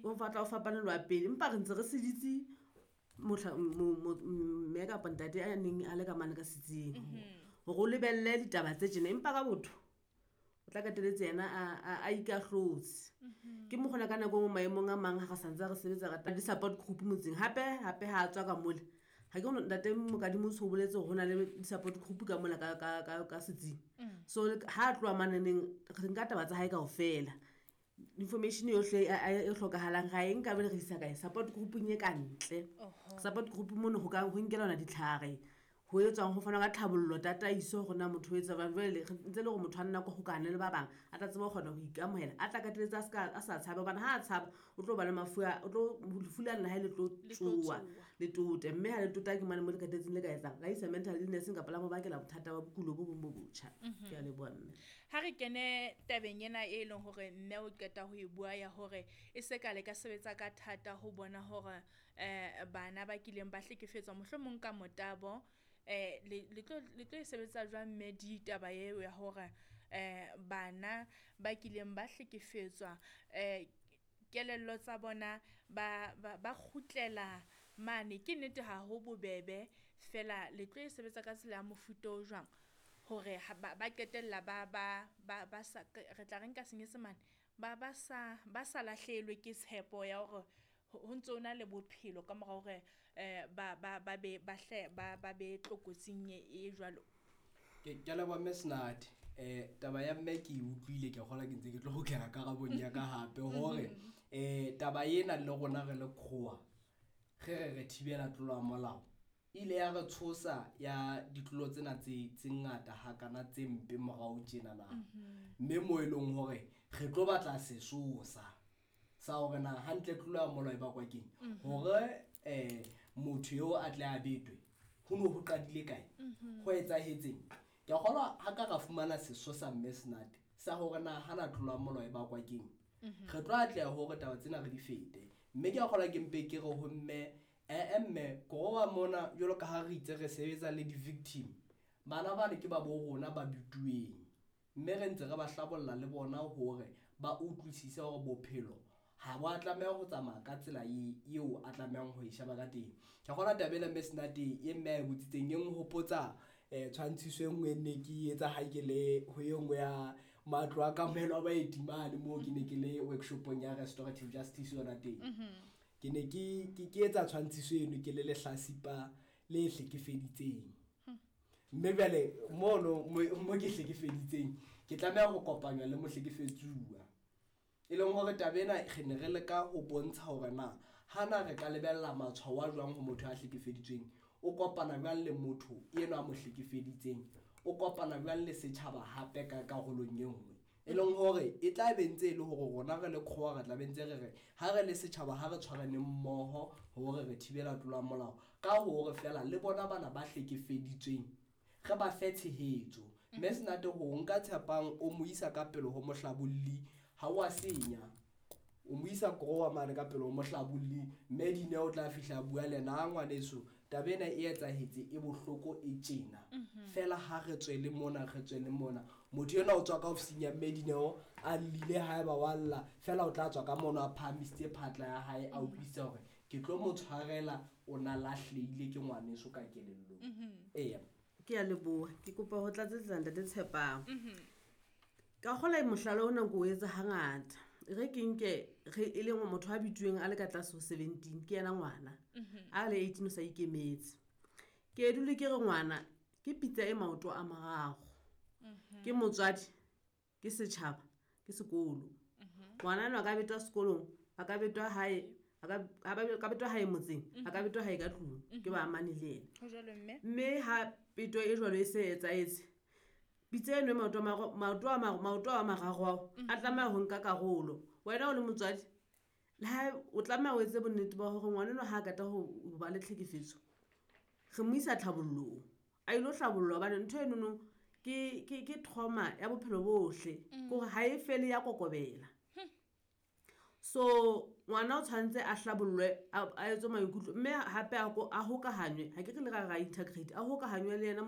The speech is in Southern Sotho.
O batla o fapane le wa pele, empa re ntse re seditse mme kapa ntate a neng a le ka mane ka setsing hore o lebelle ditaba tse tjena, empa ka botho o tla qetelletse yena a ikahlotse. Ke mokgona ka nako e nngwe maemong a mang ha re santse re sebetsa re di-support group motseng. Hape hape ha a tswa ka mole, ha ke ntate Mokadimo o so boletse hore ho na le di-support group ka mola ka setsing. So ha a tloha maneneng, re nka taba tsa hae kaofela. Information yohle e hlokahalang ra e nka be re isa kae, support group-ung e ka ntle. Support group mono ho ka ho nkelana ditlhare, ho etswang ho fanwa ka tlhabollo, tataiso hore na motho o etsa jwang. Jwale re ntse le hore motho a nna hokane le ba bang, a tla tseba ho kgona ho ikamohela, a tla qetelletse a ska, a sa tshabe hobane ha a tshaba o tlo ba le mafu a, o tlo, lefu lane la hae le tlo tsoha, le tote. Mme ha le tota ke mane mo le qetelletseng le ka etsang, la isa mental illness kapa la mo bakela bothata ba bokulo bo bong bo botjha. Ke a leboha mme. Ha re kene tabeng ena e leng hore mme o qeta ho e bua ya hore e se ka le ka sebetsa ka thata ho bona hore bana ba kileng ba hlekefetswa mohlomong ka motabo, le tlo e sebetsa jwang mme ditaba eo ya hore bana ba kileng ba hlekefetswa kelello tsa bona ba kgutlela mane? Ke nnete ha ho bobebe, fela le tlo e sebetsa ka tsela ya mofuta o jwang hore ba qetella ba sa, re tla re nka senyesemane, ba sa lahlehelwe ke tshepo ya hore ho ntso na le bophelo ka mora hore ba be ba hle ba be tlokotsing e jwalo? Ke a leboha mme Senate. Taba ya mme ke e utlwile, ke a kgolwa ke ntse ke tlo kgutlela karabong ya ka hape hore taba ena le rona re le CROA re re thibela tlolo ya molao, ile ya re tshosa ya ditlolo tsena tse ngata hakana tse mpe morao tjena na. Mme mo e leng hore re tlo batla sesosa sa hore na hantle tlolo ya molao e bakwa keng, hore motho eo a tle a betwe ho no ho qadile kae, ho etsahetseng. Ke a kgolwa ha ka ra fumana sesosa mme Senate sa hore na hana tlolo ya molao e bakwa keng, re tlo atleha hore taba tsena re di fete. Mme ke a kgolwa ke mpe ke re ho mme, mme CROA mona jwalo ka ha re itse re sebetsa le di-victim, bana bane ke ba bo rona ba bituweng, mme re ntse re ba hlabolla le bona hore ba utlwisise hore bophelo ha bo a tlameha ho tsamaya ka tsela eo a tlamehang ho e sheba ka teng. Ke a kgolwa taba ena mme Senate e mme a e botsitseng e nhopotsa tshwantshiso e nngwe ne ke etsa ha ke le ho e nngwe ya matlo a kamohelo a baeti mane moo ke ne ke le workshopong ya restorative justice yona teng. Ke ne ke etsa tshwantshiso eno ke le lehlasipa le hlekefeditseng. Mme jwale mono mo ke hlekefeditseng ke tlameha ho kopanywa le mohlekefetsuwa. E leng hore taba ena re ne re leka ho bontsha hore na hana re ka lebella matshwao a jwang ho motho a hlekefeditsweng, o kopana jwang le motho enwa a mo hlekefeditseng, o kopana jwang le setjhaba hape ka karolong e nngwe. E leng hore e tla be ntse e le hore rona re le CROA re tla be ntse re re ha re le setjhaba ha re tshwaraneng mmoho hore re thibela tlolo ya molao, ka hore fela le bona bana ba hlekefeditsweng re ba fe tshehetso. Mme Senate ho nka Tshepang o mo isa ka pele ho mohlabolli, ha wa senya, o mo isa CROA mane ka pele ho mohlabolli, mme Dineo o tla fihla bua le yena, ngwaneso taba ena e etsahetse e bohloko e tjena, fela ha re tswele mona, re tswele mona. Motho enwa o tswa ka ofising ya mme Dineo a llile haeba wa lla, fela o tla tswa ka mono a phahamisitse phatla ya hae, a utlwisisa hore ke tlo mo tshwarela, o na lahlehile ke ngwaneso ka kelellong. Eya. Ke a leboha, ke kopa ho tlatsetsa ntate Tshepang. Ka kgola mohlala ona ko o etsa hangata. Re ke nke re e leng motho a bituweng a le ka tlase ho 17, ke yena ngwana. A le 18 o sa ikemetse. Ke dule ke re ngwana ke pitsa e maoto a mararo. Ke motswadi, ke setjhaba, ke sekolo. Ngwana enwa a ka betwa sekolong, a ka betwa hae, a ka betwa hae motseng, a ka betwa hae ka tlung, ke ba amane le yena. Ho jwalo mme. Mme ha peto e jwalo e se etsahetse, pitsa eno e maoto a mararo ao, a tlameha ho nka karolo. Wena o le motswadi, le ha o tlameha o etse bonnete ba hore ngwana enwa ha a qeta ho ba le tlhekefetso, re mo isa tlhabollong. A ilo hlabollwa hobane ntho enono ke trauma ya bophelo bohle. Ke hore ha e fele ya kokobela. So ngwana o tshwanetse a hlabollwe, a etswe maikutlo, mme hape a hokahanywe, ha ke re le ra integrate, a hokahanywe le yena.